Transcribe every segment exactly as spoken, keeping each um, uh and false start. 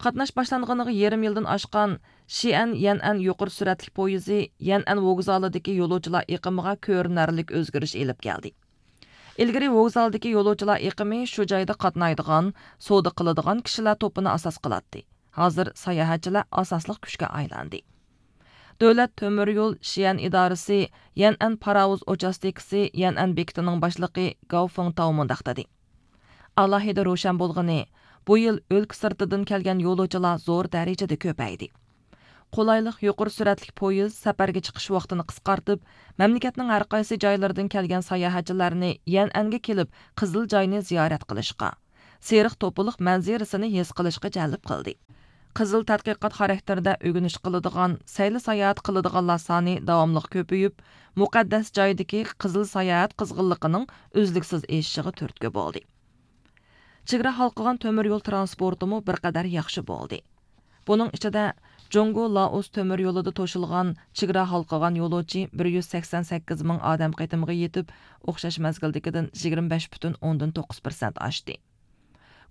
قاتناش باشلانغىنىغا يېرىم يىلدىن ئاشقان شىئەن يەنئەن يۇقىرى سۈرئەتلىك پويىزى يەنئەن ۋوگزالىدىكى يولۇچىلار ئېقىمىغا كۆرۈنەرلىك ئۆزگىرىش ئېلىپ كەلدى. ئىلگىرى ۋوگزالدىكى يولۇچىلار ئېقىمى شۇ جايدا قاتنايدىغان، سودا قىلىدىغان كىشىلەر توپىنى ئاساس قىلاتتى. ھازىر ساياھەتچىلەر ئاساسلىق كۈچكە ئايلاندى. دۆلەت تۆمۈر يول شىئەن ئىدارىسى يەنئەن پاراۋۇز ئوچاستكىسى يەنئەن بېكىتىنىڭ باشلىقى گاۋ فېڭتاۋ مۇنداق دېدى: ئالاھىدە روشەن بولغىنى، بۇ يىل ئۆلكە سىرتىدىن كەلگەن يولۇچىلار زور دەرىجىدە كۆپەيدى. قولايلىق يۇقىرى سۈرئەتلىك پويىز سەپەرگە چىقىش ۋاقتىنى قىسقارتىپ، مەملىكەتنىڭ ھەر قايسى جايلىرىدىن كەلگەن ساياھەتچىلەرنى يەنئەنگە كېلىپ قىزىل جاينى زىيارەت قىلىشقا، سېرىق توپىلىق مەنزىرىسىنى ھېس قىلىشقا جەلپ قىلدى. قىزىل تەتقىقات خاراكتېرىدە ئۆگىنىش قىلىدىغان، سەيلە ساياھەت قىلىدىغانلار سانى داۋاملىق كۆپىيىپ، مۇقەددەس جايدىكى قىزىل ساياھەت قىزغىنلىقىنىڭ ئۈزلۈكسىز ئېشىشىغا تۈرتكە بولدى. چېگرا ھالقىغان تۆمۈر يول ترانسپورتىمۇ بىر قەدەر ياخشى بولدى. بۇنىڭ ئىچىدە، جۇڭگو لائوس تۆمۈر يولىدا توشۇلغان چېگرا ھالقىغان يولۇچى بىر يۈز سەكسەن سەككىز مىڭ ئادەم قېتىمىغا يېتىپ، ئوخشاش مەزگىلدىكىدىن يىگىرمە بەش پۈتۈن ئوندىن توققۇز پىرسەنت ئاشتى.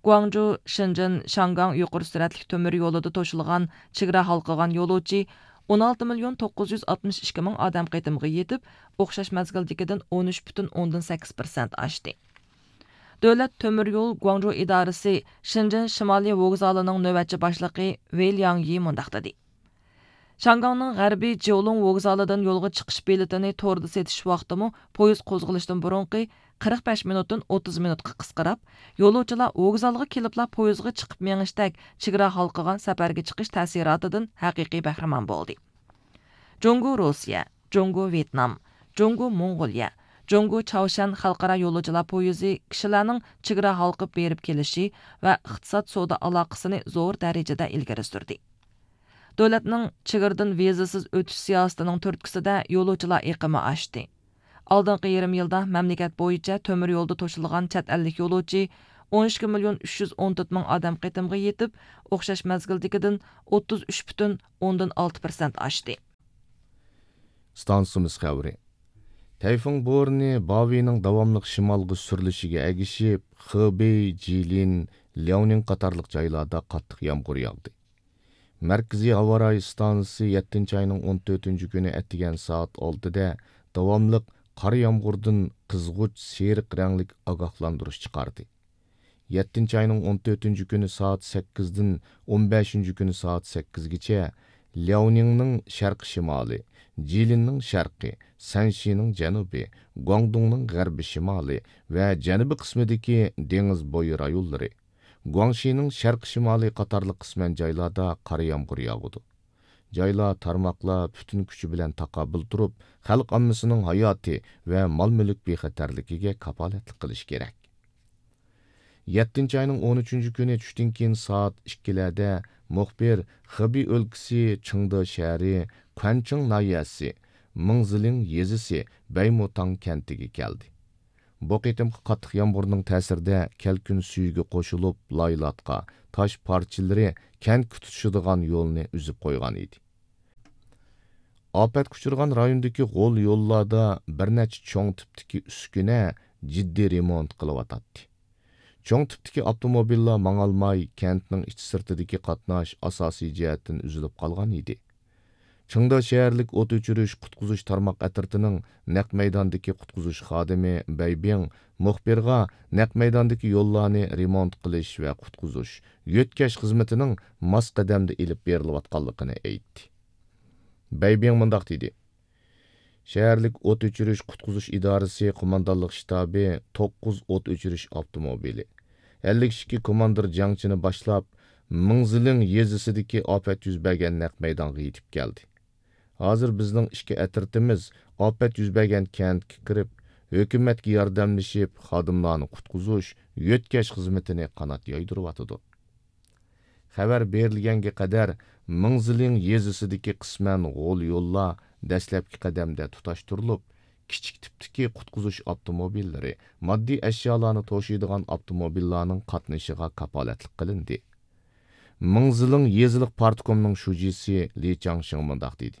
گۇاڭجۇ، شېنجېن، شياڭگاڭ يۇقىرى سۈرئەتلىك تۆمۈر يولىدا توشۇلغان چېگرا ھالقىغان يولۇچى ئون ئالتە مىليون توققۇز يۈز ئاتمىش ئىككى مىڭ ئادەم قېتىمىغا يېتىپ، ئوخشاش مەزگىلدىكىدىن ئون ئۈچ پۈتۈن ئوندىن سەككىز پىرسەنت ئاشتى. دۆلەت تۆمۈر يول گۇاڭجۇ ئىدارىسى شېنجېن شىمالىي ۋوگزالىنىڭ نۆۋەتچى باشلىقى ۋېي لياڭيى مۇنداق دېدى: شياڭگاڭنىڭ غەربىي جيولۇڭ ۋوگزالىدىن يولغا چىقىش بېلىتىنى توردا سېتىش ۋاقتىمۇ پويىز قوزغىلىشتىن بۇرۇنقى قىرىق بەش مىنۇتتىن ئوتتۇز مىنۇتقا قىسقىراپ، يولۇچىلار ۋوگزالغا كېلىپلا پويىزغا چىقىپ مېڭىشتەك چېگرا ھالقىغان سەپەرگە چىقىش تەسىراتىدىن ھەقىقىي بەھرىمەن بولدى. جۇڭگو روسىيە، جۇڭگو ۋيېتنام، جۇڭگو موڭغۇلىيە، جۇڭگو چاۋشيەن خەلقئارا يولۇچىلار پويىزى كىشىلەرنىڭ چېگرا ھالقىپ بېرىپ كېلىشى ۋە ئىقتىساد سودا ئالاقىسىنى زور دەرىجىدە ئىلگىرى سۈردى. دۆلەتنىڭ چېگرىدىن ۋىزىسىز ئۆتۈش سىياسىتىنىڭ تۈرتكىسىدە يولۇچىلار ئېقىمى ئاشتى. ئالدىنقى يېرىم يىلدا مەملىكەت بويىچە تۆمۈر يولدا توشۇلغان چەت ئەللىك يولۇچى ئون ئىككى مىليون ئۈچ يۈز ئون تۆت مىڭ ئادەم قېتىمغا يېتىپ، ئوخشاش مەزگىلدىكىدىن ئوتتۇز ئۈچ پۈتۈن ئوندىن ئالتە پىرسەنت ئاشتى. ئىستانسىمىز خەۋىرى. تەيفۇڭ بورىنى باۋىنىڭ داۋاملىق شىمالغا سۈرۈلۈشىگە ئەگىشىپ، خېبېي، جىلىن، لياۋنىڭ قاتارلىق جايلاردا قاتتىق يامغۇر ياغدى. مەركىزىي ھاۋا رايى ئىستانسىسى يەتتىنچى ئاينىڭ ئون تۆتىنچى كۈنى ئەتىگەن سائەت ئالتىدە داۋاملىق قارا يامغۇردىن قىزغۇچ سېرىق رەڭلىك ئاگاھلاندۇرۇش چىقاردى. يەتتىنچى ئاينىڭ ئون تۆتىنچى كۈنى سائەت سەككىزدىن ئون بەشىنچى كۈنى سائەت سەككىزگىچە لياۋنىڭنىڭ شەرقىي شىمالى، جىلىننىڭ شەرقى، سەنشىنىڭ جەنۇبى، گۇاڭدۇڭنىڭ غەربىي شىمالى ۋە جەنۇبىي قىسمىدىكى دېڭىز بويى رايونلىرى، گۇاڭشىنىڭ شەرقىي شىمالى قاتارلىق قىسمەن جايلاردا قارا يامغۇر ياغىدۇ. جايلار، تارماقلار پۈتۈن كۈچى بىلەن تاقابىل تۇرۇپ، خەلق ئاممىسىنىڭ ھاياتى ۋە مال-مۈلۈك بىخەتەرلىكىگە كاپالەتلىك قىلىشى كېرەك. يەتتىنچى ئاينىڭ ئون ئۈچىنچى كۈنى چۈشتىن كېيىن سائەت ئىككىلەردە مۇخبىر خېبېي ئۆلكىسى چېڭدې شەھىرى، كۇەنچىڭ ناھىيەسى، مىڭزىلىڭ يېزىسى بەيمۇتاڭ كەنتىگە كەلدى. بۇ قېتىمقى قاتتىق يامغۇرنىڭ تەسىرىدە كەلكۈن سۈيىگە قوشۇلۇپ، لايلاتقا، تاش پارچىلىرى كەنتكە تۇتىشىدىغان يولنى ئۈزۈپ قويغان ئىدى. ئاپەتكە ئۇچرىغان رايوندىكى غول يوللاردا بىر نەچچە چوڭ تىپتىكى ئۈسكۈنە جىددىي رېمونت قىلىۋاتاتتى. چوڭ تىپتىكى ئاپتوموبىللار ماڭالماي، كەنتنىڭ ئىچى سىرتىدىكى قاتناش ئاساسىي جەھەتتىن ئۈزۈلۈپ قالغان ئىدى. چېڭدې شەھەرلىك ئوت ئۆچۈرۈش قۇتقۇزۇش تارماق ئەترىتىنىڭ نەق مەيداندىكى قۇتقۇزۇش خادىمى بەي بىڭ مۇخبىرغا نەق مەيداندىكى يوللارنى رېمونت قىلىش ۋە قۇتقۇزۇش، يۆتكەش خىزمىتىنىڭ ماس قەدەمدە ئېلىپ بېرىلىۋاتقانلىقىنى ئېيتتى. بەي بىڭ مۇنداق دېدى: شەھەرلىك ئوت ئۆچۈرۈش قۇتقۇزۇش ئىدارىسى قوماندانلىق شتابى توققۇز ئوت ئۆچۈرۈش ئاپتوموبىلى، ئەللىك ئىككى كوماندىر جەڭچىنى باشلاپ، مىڭزىلىڭ يېزىسىدىكى ئاپەت يۈز بەرگەن نەق مەيدانغا يېتىپ كەلدى. ھازىر بىزنىڭ ئىككى ئەترىتىمىز ئاپەت يۈز بەرگەن كەنتكە كىرىپ، ھۆكۈمەتكە ياردەملىشىپ، خادىملارنى قۇتقۇزۇش، يۆتكەش خىزمىتىنى قانات يايدۇرۇۋاتىدۇ. خەۋەر بېرىلگەنگە قەدەر مىڭزىلىڭ يېزىسىدىكى قىسمەن غول يوللار دەسلەپكى قەدەمدە تۇتاشتۇرۇلۇپ، كىچىك تىپتىكى قۇتقۇزۇش ئاپتوموبىللىرى، ماددىي ئەشيالارنى توشۇيدىغان ئاپتوموبىللارنىڭ قاتنىشىغا كاپالەتلىك قىلىندى. مىڭزىلىڭ يېزىلىق پارتكومنىڭ شۇجىسى لى چاڭشىڭ مۇنداق دېدى: